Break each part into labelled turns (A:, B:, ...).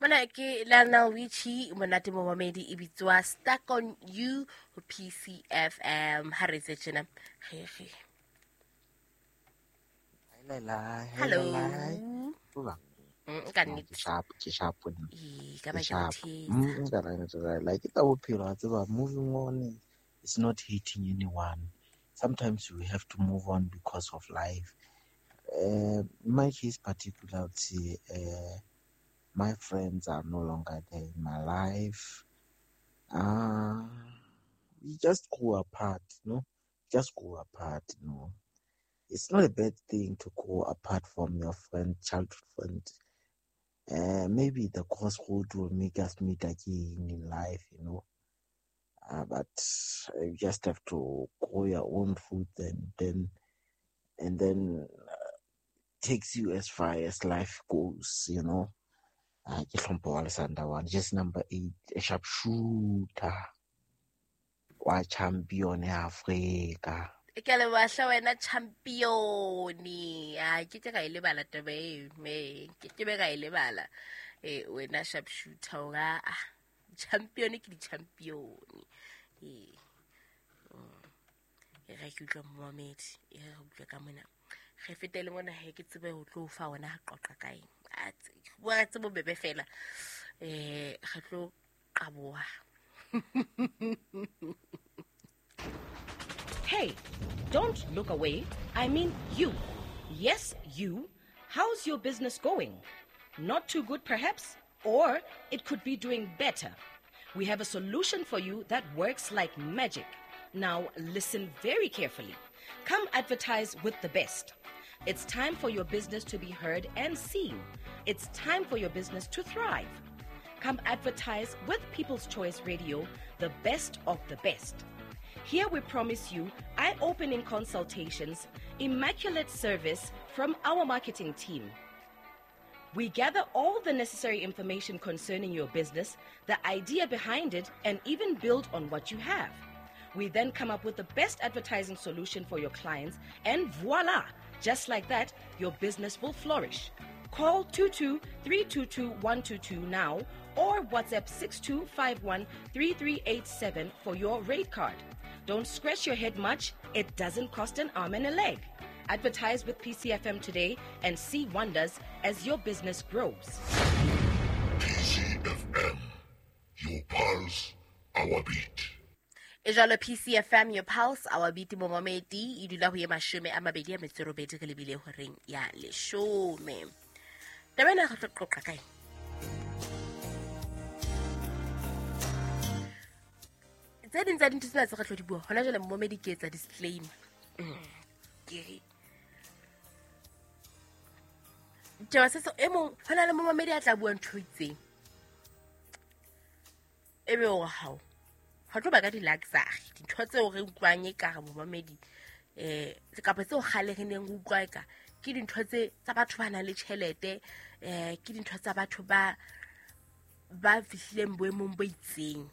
A: Mona ke Lionel Richie, monate momamedi e bitswa Stuck on You ho PCFM. Ha re tse tjena. Re re. Hello. Ka nnete.
B: Ke sharp, ke sharp.
A: Ee, ka ba ke
B: Sharp.
A: thetsa.
B: Ka ra like ke tsa bophelo wa tseba, moving on is not hating anyone. Sometimes we have to move on because of life. In my case particularly, my friends are no longer there in my life. We just grew apart, no? Just grew apart, no? It's not a bad thing to grow apart from your friend, childhood friend. Maybe the crossroad will make us meet again in life, you know. But you just have to grow your own food and then takes you as far as life goes, you know. Ke hlompho wa Lesanda one, just number 8, a sharpshooter, wa champion ya Afrika.
A: Ke a leboha hle wena champion. A ke ke ka e lebala taba eo, me ke ke be ka e lebala. Wena sharpshooter o ka, champion ke di-champion. E re ke utlwe momamedi, e re utlwe ka mona. Re fete le mona he ke tsebe ho tlo fa wona ha qoqa ka eng. A bua ka tsebo bebe fela. Re tlo qaboha.
C: Hey, don't look away. I mean you. Yes, you. How's your business going? Not too good, perhaps? Or it could be doing better. We have a solution for you that works like magic. Now, listen very carefully. Come advertise with the best. It's time for your business to be heard and seen. It's time for your business to thrive. Come advertise with People's Choice Radio, the best of the best. Here we promise you eye-opening consultations, immaculate service from our marketing team. We gather all the necessary information concerning your business, the idea behind it, and even build on what you have. We then come up with the best advertising solution for your clients, and voila! Just like that, your business will flourish. Call 22-322-122 now or WhatsApp 6251-3387 for your rate card. Don't scratch your head much. It doesn't cost an arm and a leg. Advertise with PCFM today and see wonders as your business grows.
D: PCFM, your pulse, our beat.
A: E jwalo PCFM, your pulse, our beat, momamedi, e dula ho ye 28 re lebile horeng ya 10. Taba ena re tlo qoqa kae? Tse ding tsa dintho tsena tse re tlo di bua hona jwale momamedi ke etsa disclaimer. Ke re taba se e mong hona le momamedi a tla bua ntho e itseng, e be o hao ha tlo ba ka di-luxury, dintho tseo re utlwang e ka re momamedi, kapa tseo kgale re neng re utlwa e ka ke dintho tse tsa batho ba nang le tjhelete, ke dintho tsa batho ba fihlileng boemong bo itseng.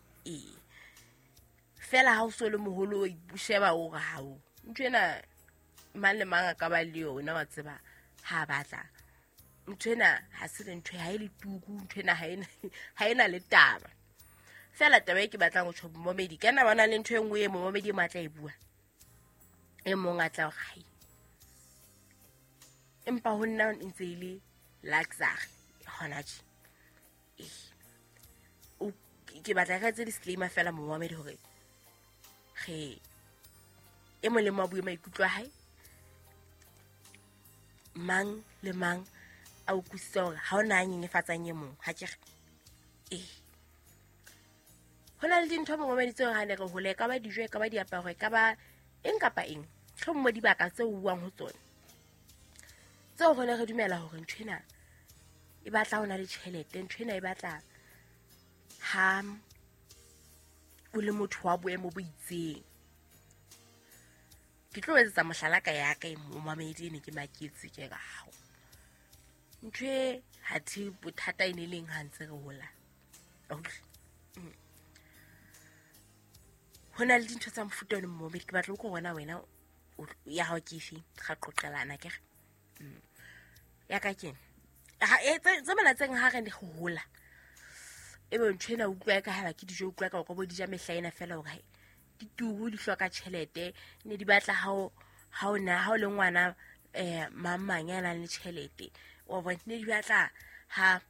A: Fela ha o so le moholo o sheba o re hao ntho ena mang le mang a ka ba le yona, wa tseba ha batla ntho ena ha se le ntho ha e le tuku, ntho ena ha ena le taba. Fela taba e ke batlang ho tjho momamedi, ka na bana le ntho e nngwe e momamedi e matla e bua, e mong a tla hore hai, empa ho nna ntse e le luxury hona tje. Ke batla re etse disclaimer fela momamedi hore re e mong le mong a bue maikutlo a hae, mang le mang a utlwisise hore ha ona a nyenyefatsang e mong, ha ke re. Ho na le dintho momamedi tseo ha ne re hole, e ka ba dijo, e ka ba diaparo, e ka ba eng kapa eng, hlommo dibaka tseo o buang ho tsona, tseo re ne re dumela hore ntho ena e batla ho na le tjhelete, ntho ena e batla ha o le motho wa boemo bo itseng. Ke tlo etsetsa mohlala ka ya ka e momamedi ne ke maketse ke re hao ntho e ha the bothata e ne leng ha ntse re hola. Ho na le dintho tsa mofuta ono momamedi, ke batla ho bona wena ya hao ke efe, ga qoqelana ke re. Ya ka keng tse mona tseng ha re ne ho hola Ebe ntho ena utlwa ka ha ke dijo utlwa ka o ka bo di ja mehla ena fela hore dituku di hloka tjhelete ne di batla ha o na ha o le ngwana mang ya nang le tjhelete wa bona ne di batla ha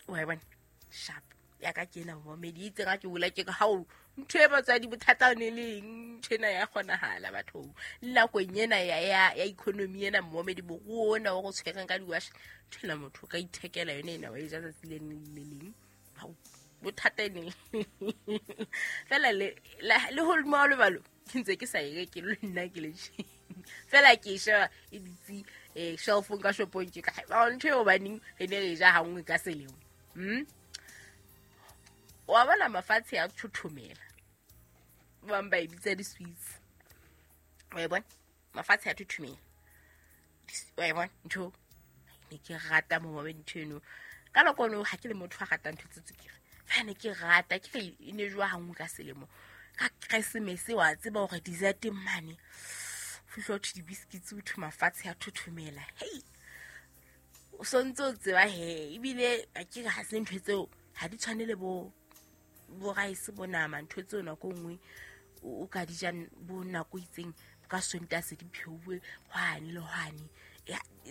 A: wa bona sharp ya ka ke ena momedi itse ga ke bula ke ha o ntho e batswadi bothata ne le eng ntho ena ya kgonahala bathong le nakong ena ya economy ena momedi moruo ona o go tshwereng ka diwash ntho ena motho o ka ithekela yone ena wa e ja tsatsi le leng le leng bothata ene fela le hodimo wa lebalo ke ntse ke sa e reke le nna ke le fela ke e sheba e ditse shelfong ka shopong ke ka ntho e hobaneng re ne re ja hanngwe ka selemo. Wa bona mafatshe a thothomela ba bang ba e bitsa di-sweets wa e bona mafatshe a thothomela wa e bona ntho ne ke rata momamedi ntho eno ka nako eno ha ke le motho a ratang ntho tse tswekere fela ne ke rata ke re e ne jowa hanngwe ka selemo ka Keresemese wa tseba hore dessert mane fihla ho di-biscuits ho thwe mafatshe a thothomela hei o sontse o tseba he ebile a ke re ha se ntho tseo ha di tshwane le bo rice bo nama ntho tseo nako nngwe o ka di ja bo nako itseng ka Sontaha se di pheuwe hwane le hwane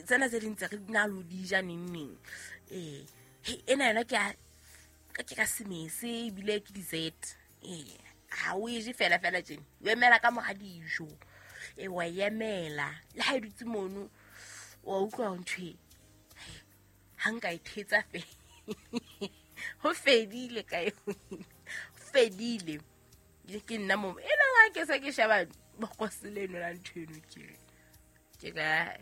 A: tsena tse ding tse re na lo di ja neng neng ena yona ke ka ka semese ebile ke dessert ha o e je fela fela tjena o emela ka mora dijo wa emela le ha e dutse mono wa utlwa ntho e ha nka e thetsa fe ho fedile ka fedile ke nna mo ena ga ke se ke sheba bokose leno la ntho eno ke ka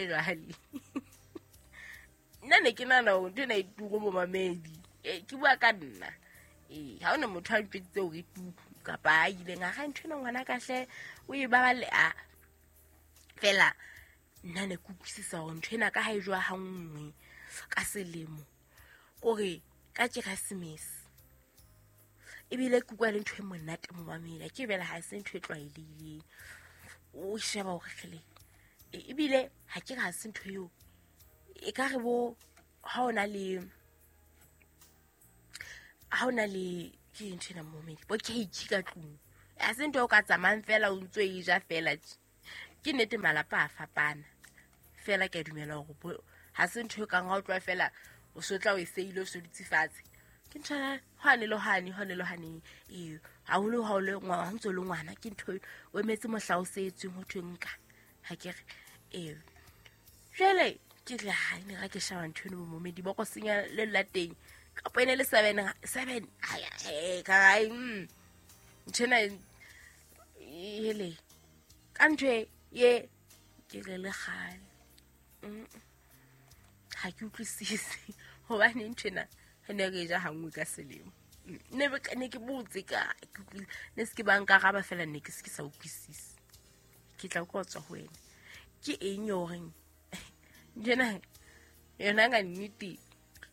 A: jwale nna ne ke nahana hore ntho ena e turu momamedi ke bua ka nna ha ona motho a ntjweditse hore e turu kapa a ileng a ga ntho ena ngwana ka hle o e baballe a fela nna ne ke utlwisisa hore ntho ena ka ha e jowa ha nngwe ka selemo kore ka Keresemese ebile ke utlwa le ntho e monate momamedi ke bela ha se ntho e tlwaelehileng o sheba hore kgele ebile ha ke re ha se ntho eo e ka re bo ha ona le ke ntho ena momamedi bo cake ka tlung ha se ntho o ka tsamayang fela o ntso e ja fela ke nnete malapa a fapana fela ke a dumela hore ha se ntho e kang ha o tloha fela o so tla o e seile o so dutse fatshe ke ntho hwane le hwane haholo ha o le ngwana ha ntso le ngwana ke ntho o emetse mohla o setsweng ho thwe nka ha ke re jwale ke re ha ne ga ke sheba ntho eno momedi ba go senya le la teng kapa ene le 7 ka ntho ena hele ka ntho ye ke re le kgale ha ke utlwisise hobane ntho ena re ne re ja hanngwe ka selemo ne ke botse ka ne se ke ba nkaraba fela ne ke se ke sa utlwisise ke tla ko tswa ho wena ke eng yo horeng njena yona ka nnete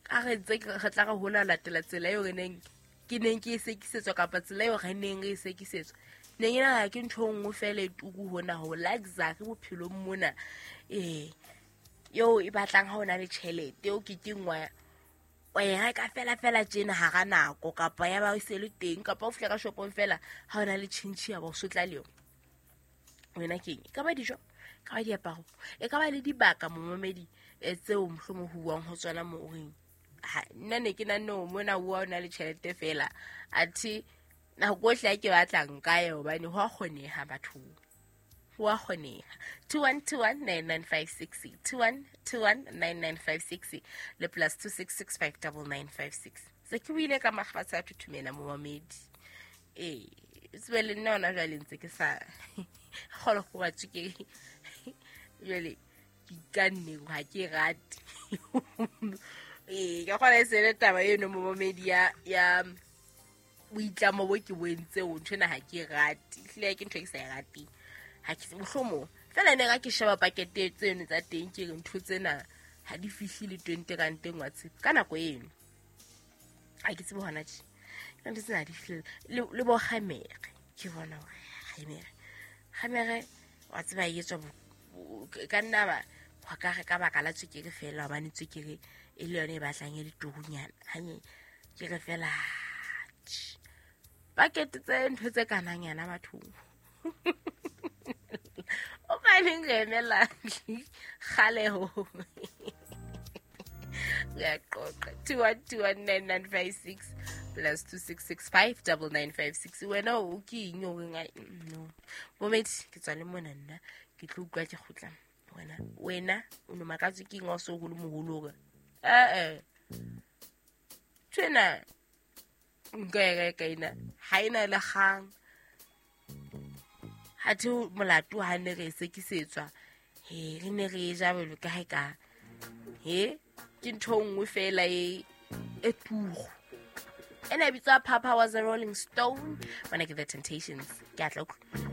A: ka re tse re tla re hola latela tsela eo re neng ke neng ke e sekisetswa kapa tsela eo re neng re e sekisetswa neng ena ke ntho e nngwe fela e tuku hona ho luxury bophelong mona eo e batlang ha o na le tjhelete eo ke kengwa wa e reka fela fela tjena hara nako kapa ya ba e se le teng kapa o fihla ka shopong fela ha o na le tjhentjhe ya ba o sotla le yona wena keng e ka ba dijo ka ba diaparo e ka ba le dibaka momamedi tseo mohlomong ho buang ho tsona mo o reng nna ne ke nanne ho mona bua o na le tjhelete fela athe nako ohle a ke batlang ka ye hobane ho a kgoneha bathong ho a kgoneha 21219956 21219956 le plus 26659956 se ke buile ka mafatshe a thuthumela momamedi tsebe le nna hona jwale ntse ke sa kgolo go batswe ke jwale ke ikanne ha ke rate ka kgona e se le taba eno momamedi ya boitlamo bo ke bo entseng ntho ena ha ke rate ehlile ke ntho e ke sa e rateng ha ke mohlomong fela ne ga ke sheba pakete tseno tsa teng ke re ntho tsena ha di fihle le 20 rand wa tshepe ka nako eno ha ke tsebe hona tje ka ntho tsena di fihle le bo kgamere ke bona hore kgamere wa tseba e etswa ka nna ba Go ka re ka baka la tswekere fela, hobane tswekere e le yone e batlang e le turunyana. Hanye ke re fela pakete tse ntho tse kanang yana bathong. O baneng re emela kgaleho. Re a qoqa. 2121956 plus 26659956. Wena o ke eng o reng ai, no. Bomedi ke tswa le mona nna ke tlo utlwa ke kgutla. Wena wena o no makatswe ke eng ha o so hole moholo hore eh tjena nka e reka ena ha ena le kgang. Ha the molato ha ne re e sekisetswa, he re ne re e ja jwalo ka ha e ka he ke ntho e nngwe fela e e turu. Ena e bitswa Papa Was a Rolling Stone. Mona ke The Temptations. Ke a tla utlwa.